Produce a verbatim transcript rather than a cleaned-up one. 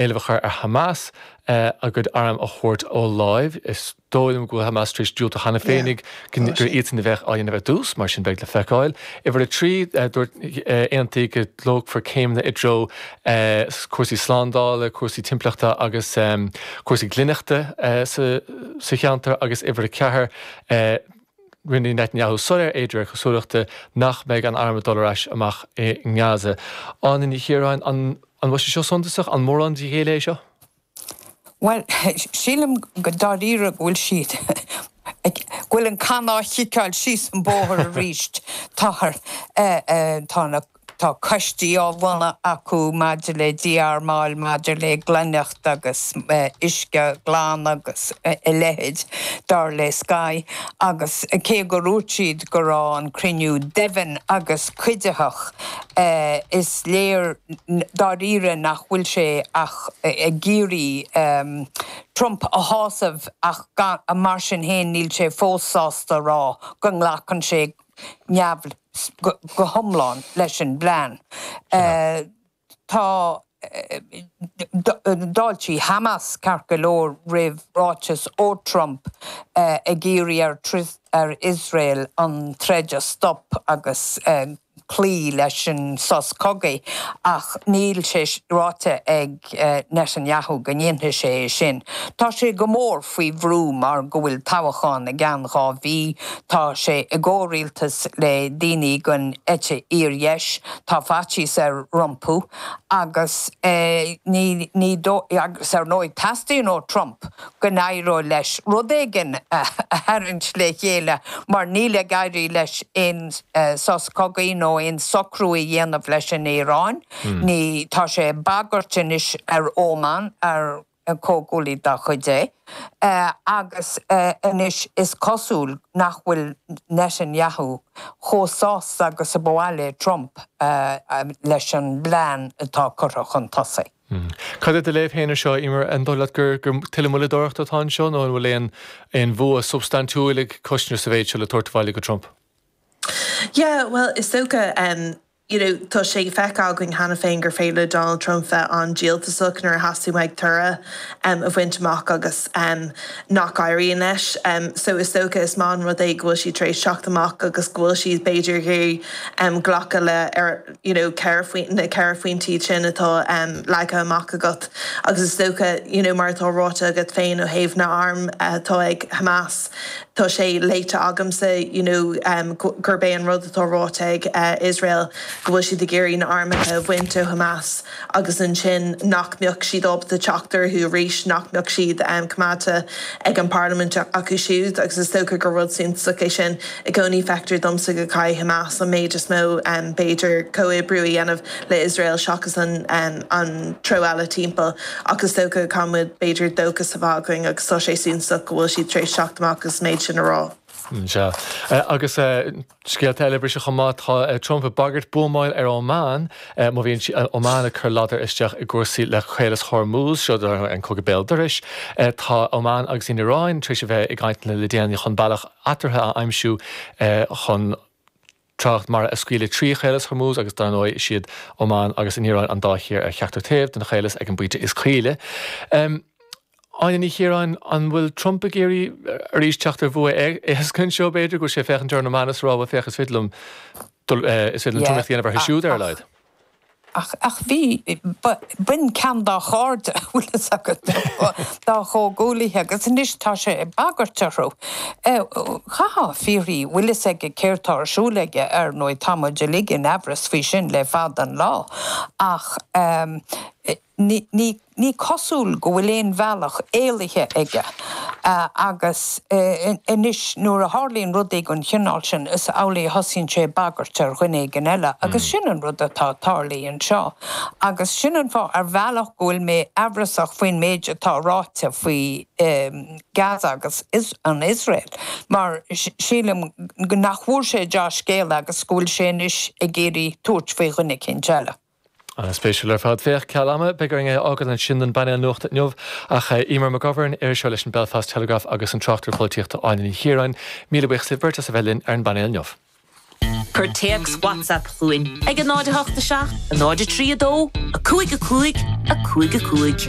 Éileamh a chur ar Hamas a gcuid arm a thabhairt ó láimh. Is dóigh liom go bhfuil Hamas tar éis diúltú cheana féinig gur iadsan a bheadh á dhéanamh ar dtús, mar sin beidh le feiceáil. Uimhir a trí, dúirt aontaíodh go dtógfar céimeanna i dtreo cúrsaí slándála, cúrsaí timpeallachta agus cúrsaí glaineachta sa cheantar agus uimhir a ceathair, rinne Netanyahu soiléir é de réir cosúlachta nach mbeidh an arm ag dul ar ais amach i nGaza. Áine Ní Chiaráin, an bhfuil sé seo suntasach? An mórán de ghéilleadh é seo? Bhuel, sílim go dáiríre go bhfuil siad, go bhfuil an can á chiceáil síos an bóthar arís. Táthar, tá na, tá coistí á bhunú acu maidir le dí-armáil, maidir le glaineacht agus uisce glan agus a leithéid, dar le Sky. Agus cé gur dhúirt siad go raibh an cruinniú deimhin agus cuiditheach, is léir dáiríre nach bhfuil sé ach ag iarraidh Trump a shásamh ach mar sin féin níl sé fós sásta a rá go nglacann sé neamh go hiomlán leis an bplean. Tá D'fháiltigh Hamas ceart go leor roimh ráiteas ó Trump ag iarraidh ar Iosrael an troid a stop agus cloí leis an sos cogaidh ach níl sé ráite ag Netanyahu go ndéanfaidh sé é sin. Tá sé go mór faoi bhrú mar go bhfuil toghchán i gceann dhá mhí, tá sé i gcomhrialtas le daoine den eite fhíordheis, tá faitíos air rompu agus ní ní agus ar ndóigh teastaíonn ó Trump go n-éireodh leis rud éigin a tharraingt le chéile mar níl ag éirí leis aon sos cogaidh nó aon socrú a dhéanamh leis an Iaráin. Ní tá sé ag bagairt anois ar Óman, ar comhghuaillí dá chuid é. Agus anois is cosúil nach bhfuil Netanyahu chomh sásta agus a ba mhaith le Trump leis an bplean atá curtha chun tosaigh. Cad é do léamh féin ar seo, Emer, an dóigh leat gur tuilleadh moilleadóireachta atá anseo nó an bhfuil aon aon bhua substaintiúil ag Kushner sa mhéid seo le tabhairt abhaile go Trump? Yeah, well, is dócha um, you know, tá sé feicthe againn cheana féin gur féidir le Donald Trump bheith an-díoltasach nuair a theastaíonn uaidh toradh um, a bhaint amach agus um, nach éiríonn leis. Um, so is dócha is maith an rud é go bhfuil siad tar éis teacht amach agus go bhfuil siad b'fhéidir ag um, glacadh le ar you know, na ceithre phointí sin atá um, leagtha amach agat agus is dócha you know, mar atá ráite agat féin ó thaobh na n-arm atá uh, ag Hamas. Tá sé léite agamsa you know, um, gurb é an rud atá ráite ag uh, Israel go bhfuil siad ag iarraidh na hairm a bhaint ó Hamas agus ansin nach mbeadh siad ábalta teacht orthu arís nach mbeadh siad um, coimeádta ag an bparlaimint acu siúd agus is dócha gur rud suntasach é sin i gcónaí feictear domsa go gcaithfidh Hamas an méid is mó um, b'fhéidir comhoibriú a dhéanamh le Israel seachas an, um, an treo eile timpeall agus is dócha caithfimid b'fhéidir dóchas a bheith againn agus tá sé suntasach go bhfuil siad tar éis teacht amach agus méid sin a rá. Sea. Agus scéalta eile briseadh chomh maith, tá Trump ag bagairt buamáil ar Oman má bhíonn Oman ag cur ladar isteach i gcúrsaí le Caolas Hormuz, seo an cogadh béal dorais. Tá Oman agus an Iaráin tar éis a bheith i gcainteanna le déanaí chun bealach eatarthu a aimsiú chun trácht mara a scaoileadh trí Chaolas Hormuz agus dar ndóigh is iad Oman agus an Iaráin an dá thír ar cheachtar taobh den chaolas ag an bpointe is caoile. Áine Ní Chiaráin, an bhfuil Trump ag iarraidh arís teacht ar bhua éasca anseo b'fhéidir go bhfuil sé ag féachaint ar an Oman is rá bhuel féach is féidir liom dul is féidir liom tromaíocht a dhéanamh orthu siúd ar a laghad. Ach ach bhí b'in ceann dá chairde bhfuil fhios agat dá chomhghuaillithe agus anois tá sé ag bagairt orthu. Chaithfeá fiafraí bhfuil fhios aige céard tá ar siúl aige ar ndóigh tá muid uilig in aimhreas faoi sin le fada an lá ach Ní ní cosúil go bhfuil aon bhealach éalaithe aige agus anois nuair a tharlaíonn rudaí den chineál sin is amhlaidh a thosaíonn sé ag bagairt ar dhuine éigin eile agus sin an rud atá tarlaithe anseo agus sin an fáth ar bhealach go bhfuil mé aimhreasach faoin méid atá ráite faoi Gaza agus an Iosrael mar sílim nach bhfuair sé dea-scéala agus go bhfuil sé anois ag iarraidh tabhairt faoi dhuine eicínt eile. An-spéisiúil ar fad. Féach, ceal ama, beidh orainn é a fhágáil ansin don bpainéal nuachta inniu. Ach Emer McGovern, iriseoir leis an Belfast Telegraph agus an tráchtaire polaitíochta Áine Ní Chiaráin, míle buíochas libh beirt as a bheith linn ar an bpainéal inniu. Cuir téacs WhatsApp chugainn ag a náid a hocht a seacht, a náid a trí a dó, a cúig a cúig, a cúig a cúig.